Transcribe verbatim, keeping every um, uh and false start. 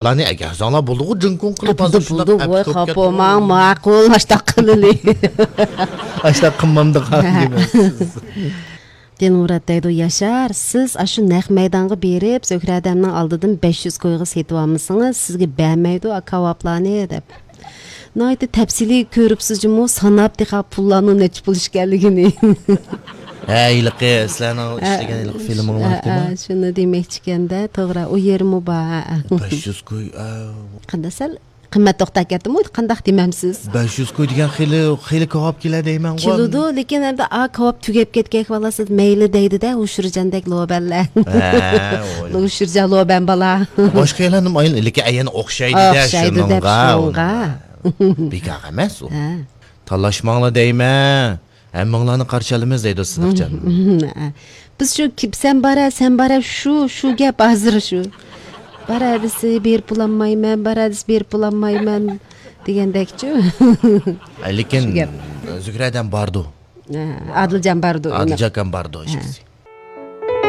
ئۇلارنى ئەگەرسەڭلار بولدىغۇ، جىڭكۇڭ قىلىپ، ھازىر شۇنداق بولدى، ۋاي، خاپا بولماڭ، ماقۇل، ئاشتاق قىلىلى. ئاشتاق قىلمامدىق، دېمەيسىز. دىلمۇرات دەيدۇ، ياشار، سىز ئاشۇ نەق مەيدانغا بېرىپ، زۆھرەدەمنىڭ ئالدىدىن بەش يۈز كويغا سېتىۋالمىسىڭىز، سىزگە بەرمەيدۇ ئا كاۋاپلارنى، دەپ. ناھايىتى تەپسىلىي كۆرۈپسىز جۇمۇ، ساناپ تېخى پۇللارنىڭ نەچچە پۇل ئىكەنلىكىنى. ھە، ھېلىقى سىلەرنىڭ ئىشلىگەن ھېلىقى فىلىمىڭلار ھە، شۇنى دېمەكچىكەندە، توغرا، ئۇ يېرىمۇ بار، ھە. بەش يۈز كوي، ئە. قانداق سەل قىممەت توختاپ كەتتىمۇ، قانداق دېمەمسىز؟ بەش يۈز كوي دېگەن خېلى، خېلى كاۋاپ كېلە دەيمەنغۇ. كېلىدۇ، لېكىن ئەمدى ئا كاۋاپ تۈگەپ كەتكەك، بالاسى مەيلى دەيدۇ-دە، ھۇشۇرجاندەك لوبەنلەر. ھە، ھۇشۇرجان لوبەن بالا. باشقا يەرلەرنىمۇ ئايلىنىپ، لېكىن ئەيەن ئوخشايدۇ-دە، ئوخشايدۇ دەپ شۇنىڭغا. بىكار ئەمەس ئۇ. ھە. تالاشماڭلار دەيمەن. ھەممىڭلارنى قارشى ئالىمىز دەيدۇ سىدىقجان. بىز شۇ كىپ-، سەن بارە، سەن بارە، شۇ، شۇ گەپ ھازىر شۇ. بارە دېسە بېرىپ بولالمايمەن، بارە دېسە بېرىپ بولالمايمەن دېگەندەكچۇ. لېكىن شۇ گەپ. زۆھرەدەم باردۇ. ھە، ئادىلجان باردۇ، ئادىلجان ئاكام باردۇ، ھە. ئىشقىسى.